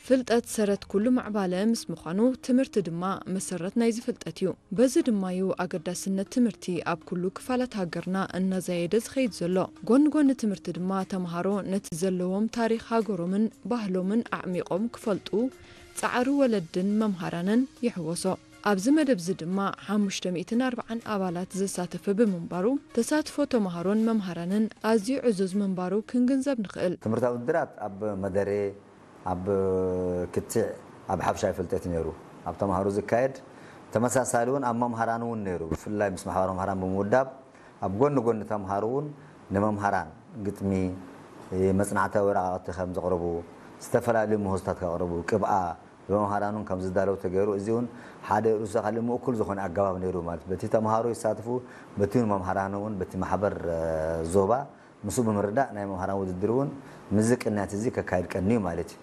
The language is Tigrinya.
ፍልጠት ሰረት ኩሉ ምዕባለ ምስ ምዃኑ፣ ትምህርቲ ድማ መሰረት ናይዚ ፍልጠት እዩ። በዚ ድማ እዩ ኣገዳስነት ትምህርቲ ኣብ ኩሉ ክፋላት ሃገርና እናዛየደ ዝኸይድ ዘሎ። ጎኒ ጎኒ ትምህርቲ ድማ፣ ተምሃሮ ነቲ ዘለዎም ታሪኽ ሃገሮምን ባህሎምን ኣዕሚቖም ክፈልጡ ጻዕሪ ወለድን መምሃራንን ይሕወሶ። ኣብዚ መደብ እዚ ድማ ሓሙሽተ ሚእትን ኣርባዓን ኣባላት ዘሳተፈ ብምንባሩ፣ ተሳትፎ ተምሃሮን መምሃራንን ኣዝዩ ዕዙዝ ምንባሩ ክንግንዘብ ንኽእል። ትምህርታዊ ውድድራት ኣብ መደረ፣ ኣብ ክትዕ፣ ኣብ ሓብሻይ ፍልጠት ነይሩ። ኣብ ተምሃሮ ዝካየድ፣ ተመሳሳሊ እውን ኣብ መምሃራን እውን ነይሩ። ብፍላይ ምስ ማሕበር መምሃራን ብምውዳብ፣ ኣብ ጎኒ ጎኒ ተምሃሮ እውን ንመምሃራን ግጥሚ፣ መጽናዕታዊ ወረቓቕቲ ከም ዘቕርቡ፣ ዝተፈላለዩ ምህዞታት ከቕርቡ፣ ቅብኣ ብመምሃራን እውን ከም ዝዳለው ተገይሩ። እዚ እውን ሓደ ርእሱ ካልእ ምእኩል ዝኾነ ኣገባብ ነይሩ ማለት፣ በቲ ተምሃሮ ይሳትፉ፣ በቲ እውን መምሃራን እውን፣ በቲ ማሕበር እ፣ ዞባ ምስኡ ብምርዳእ፣ ናይ መምሃራን ውድድር እውን ምስዚ ቅንያት እዚ ከካይድ ቀንዩ ማለት እዩ።